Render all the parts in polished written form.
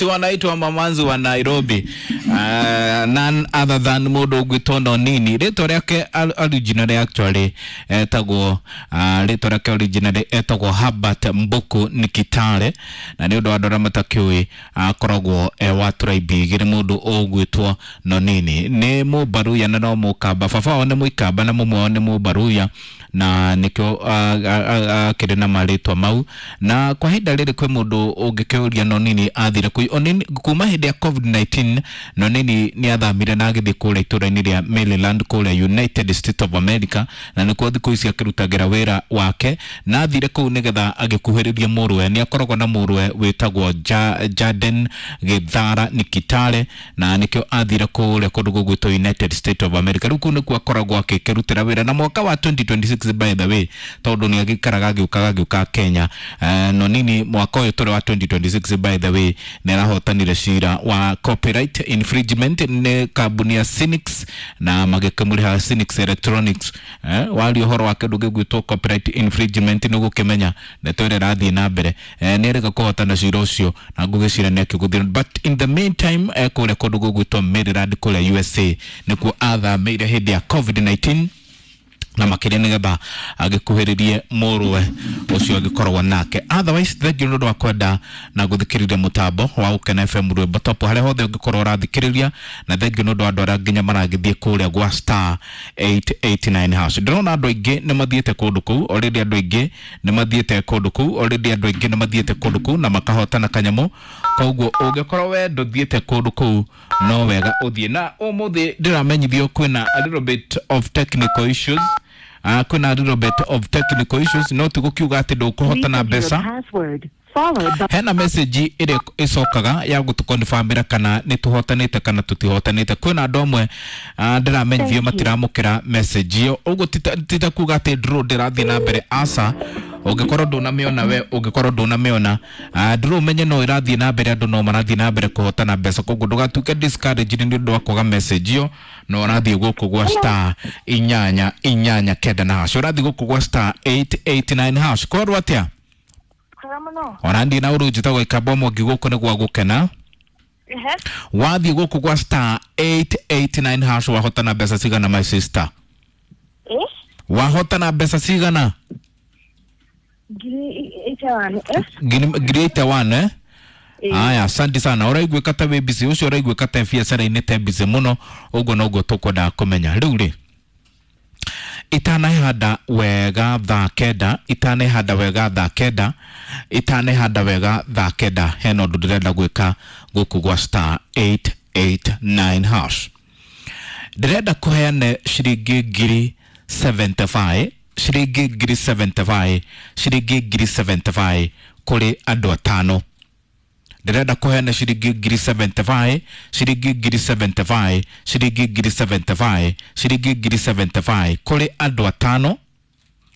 Ati wanaitwa mamanzi wa Nairobi. None other than mundu ugwitwo Nonini. Ritwa riake originally actually etagwo ritwa riake originally etagwo Herbert Mbuku Nikitale, na ni undu wa andu aria matakiui akoragwo e wa tribe igiri. Mundu ugwitwo Nonini ni Mubaruya na no Mukamba. Baba wao ni Muikamba na mumwe wao ni Mubaruya, na nikio akĩrĩ na marĩtwa mau. Na kwa ihinda rĩrĩ kwĩ mũndũ ũngĩkĩũria Nonini athire kũ. Onini kuma hĩndĩ ya COVID-19, Nonini nĩ athamire na agĩthiĩ kũrĩa itũũra-inĩ rĩa Maryland kũrĩa United States of America, na nĩkuo thikũ ici akĩrutagĩra wĩra wake. Na athire kũu nĩgetha agĩkuhĩrĩrie mũrũwe. Nĩ akoragwo na mũrũwe wĩtagwo Jaden Gĩthara Nikitale, na nĩkĩo athire kũrĩa kũndũ gũgwĩtwo United States of America. Rĩu kũu nĩkuo akoragwo akĩrutĩra wĩra. Na mwaka wa 2026, by the way, tondũ nĩ agĩikaraga agĩũkaga Kenya, Nonini mwaka ũyũ tũrĩ wa 2026, by the way, nĩ arahotanire cira wa copyright infringement nĩ kambuni ya Synix, na magĩkĩmũrĩha Synix Electronics. Waria ũhoro wa kĩndũ gĩgwĩtwo copyright infringement nĩ gũkĩmenya ndeto ĩrĩa ĩrathiĩ na mbere. Nĩ erĩga kũhotana cira ũcio na ngũgĩcira nĩ akĩgũthira. But in the meantime, kũrĩa kũndũ gũgwĩtwo Maryland kũrĩa USA nĩkuo athamĩire hĩndĩ ya COVID-19, na makĩria nĩgetha agĩkuhĩrĩrie mũrũwe ũcio agĩkoragwo nake. Otherwise, thengiũ nĩ ũndũ wa kwenda na gũthikĩrĩria mũtambo wa Gũkena FM rwĩmbo top harĩa hothe ũngĩkorwo ũrathikĩrĩria, na thengiũ nĩ ũndũ wa andũ arĩa nginya maragĩthiĩ kũrĩa gwa star 889 hash. Ndĩrona andũ aingĩ nĩ mathiĩte kũndũ kũu already, andũ aingĩ nĩ mathiĩte kũndũ kũu already, andũ aingĩ nĩ mathiĩte kũndũ kũu na makahotana kanyamũ. Koguo ũngĩkorwo we ndũthiĩte kũndũ kũu, no wega ũthiĩ. Na ũmũthĩ ndĩramenyithio kwĩna a little bit of technical issues, kwĩna a little bit of technical issues, no ti gũkiuga atĩ ndũkũhotana mbeca. Hena message ĩrĩa ĩcokaga ya gũtũkonfirmĩra kana nĩ tũhotanĩte kana tũtihotanĩte. Kwĩna andũ amwe ndĩramenyithio matiramũkĩra message ĩyo. Ũguo tita kuga atĩ draw ndĩrathiĩ na mbere, aca. Ũngĩkorwo ndũnamĩona we, ũngĩkorwo ndũnamĩona, draw ũmenye no ĩrathiĩ na mbere, andũ no marathiĩ na mbere kũhotana mbeca. Koguo ndũgatuĩke discouraged nĩ ũndũ wa kwaga message ĩyo. No ũrathiĩ gũkũ gwa star 889 na hash, ũrathiĩ gũkũ gwa star 889 hash. Kwarwo atĩa? Kwega mũno. Ona ndi na ũrũ njĩtagwo Ikamba Mwangi, gũkũ nĩ gwa gũkena. Wathiĩ gũkũ gwa star 889 hash, wahotana mbeca cigana, my sister? Eh? Wahotana mbeca cigana? 81. Eh? 81, eh? Eh. Aya, asante sana. Ũraiguĩka ta wĩ busy ũcio, ũraiguĩka ta biacara-inĩ te busy mũno. Ũguo noguo tũkwendaga kũmenya. Rĩu rĩ, itanahanda wega thaa 9, itanahanda wega thaa 9, itanahanda wega thaa 9, hena ũndũ ndĩrenda gwĩka gũkũ gwa star 889 hash. Ndĩrenda kũheane ciringi 75,000, ciringi 75,000, ciringi 75,000 kũrĩ andũ atano. Ndĩrenda kũheana ciringi 75,000, ciringi 75,000, ciringi 75,000, ciringi 75,000 kũrĩ andũ atano.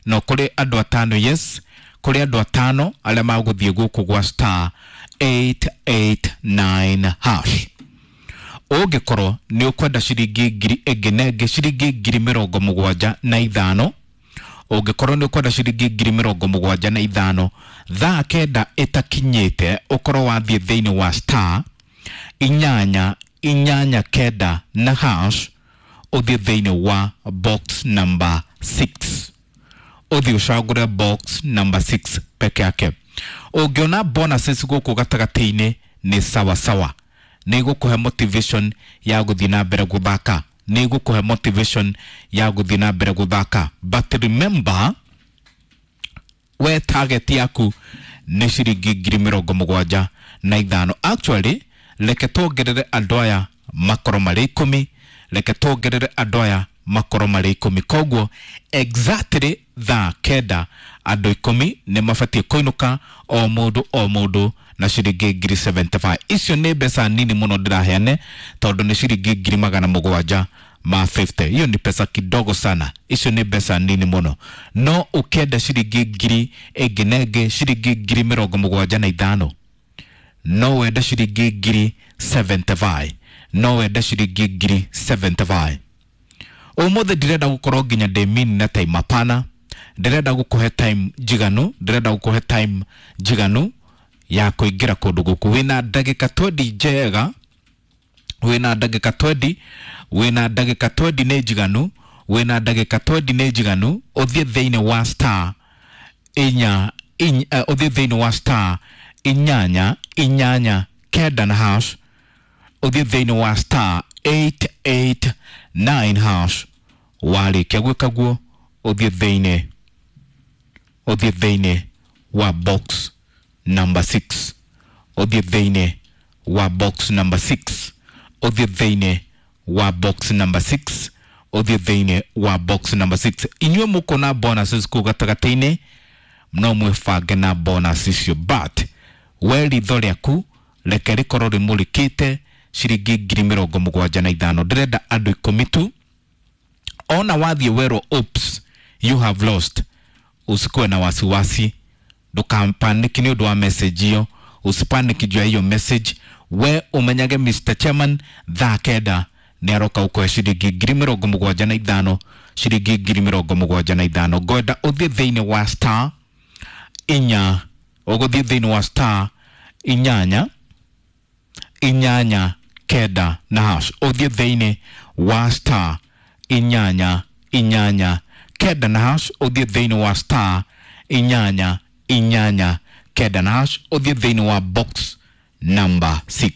No kũrĩ andũ atano, yes, kũrĩ andũ atano arĩa magũthiĩ gũkũ gwa star 889 hash. Ũngĩkorwo nĩ ũkwenda ciringi ngiri ĩngĩ na ĩngĩ, ciringi 75,000, ũngĩkorwo nĩ ũkwenda ciringi 75,000, thaa 9 ĩtakinyĩte ũkorwo wathiĩ thĩinĩ wa star 889 na hash, ũthiĩ thĩinĩ wa box number 6, ũthiĩ ũcagũre box number 6 peke yake. Ũngĩona bonuses gũkũ gatagatĩ-inĩ nĩ sawa sawa, nĩ igũkũhe motivation ya gũthiĩ na mbere gũthaka, nĩ igũkũhe motivation ya gũthiĩ na mbere gũthaka. But remember, we target yaku nĩ ciringi 75,000. Actually, reke tuongerere andũ aya makorwo marĩ 10, reke tuongerere andũ aya makorwo marĩ 10. Koguo exactly thaa 9 andũ 10 nĩ mabatiĩ kũinũka, o mũndũ o mũndũ na ciringi 75,000. Icio nĩ mbeca nini mũno ndĩraheane, tondũ nĩ ciringi 750,000. Hiyo ni pesa kidogo sana, icio nĩ mbeca nini mũno. No ũkĩenda ciringi ngiri ĩngĩ na ĩngĩ, ciringi 75,000, no wende ciringi 75,000, no wende ciringi 75,000. Ũmũthĩ ndirenda gũkorwo nginya ndĩ mini na time, hapana. Ndĩrenda gũkũhe time njiganu, ndĩrenda gũkũhe time njiganu. Ya kũingĩra kũndũ gũkũ wĩna ndagĩka 20 njega, wĩna ndagĩka 20, wĩna ndagĩka 20 nĩ njiganu, wĩna ndagĩka 20 nĩ njiganu. Ũthiĩ thĩinĩ wa star inya, ũthiĩ thĩinĩ wa star inyanya inyanya kenda na hash, ũthiĩ thĩinĩ wa star 889 hash. Warĩkia gwĩka guo, ũthiĩ thĩinĩ wa box number 6, ũthiĩ thĩinĩ wa box number 6, ũthiĩ thĩinĩ wa box number 6, ũthiĩ thĩinĩ wa box number 6. Inyuĩ mũkona bonuses kũu gatagatĩ-inĩ, no mwĩbange na bonus icio, but we ritho rĩaku reke rĩkorwo rĩmũrĩkĩte ciringi 75,000. Ndĩrenda andũ 10 tu. Ona wathiĩ werwo oops, you have lost, usikuwe na wasiwasi, ndũkapaniki nĩ ũndũ wa message iyo, usipaniki juu ya hiyo message. We umenyage Mr Chairman thaa 9 nĩ aroka gũkũhe ciringi 75,000, ciringi 75,000. Ngwenda ũthiĩ thĩinĩ wa star inya, ũgũthiĩ thĩinĩ wa star inyanya inyanya kenda na hash, ũthiĩ thĩinĩ wa star inyanya inyanya kenda na hash, ũthiĩ thĩinĩ wa star inyanya inyanya kenda na hash, ũthiĩ thĩinĩ wa box number 6.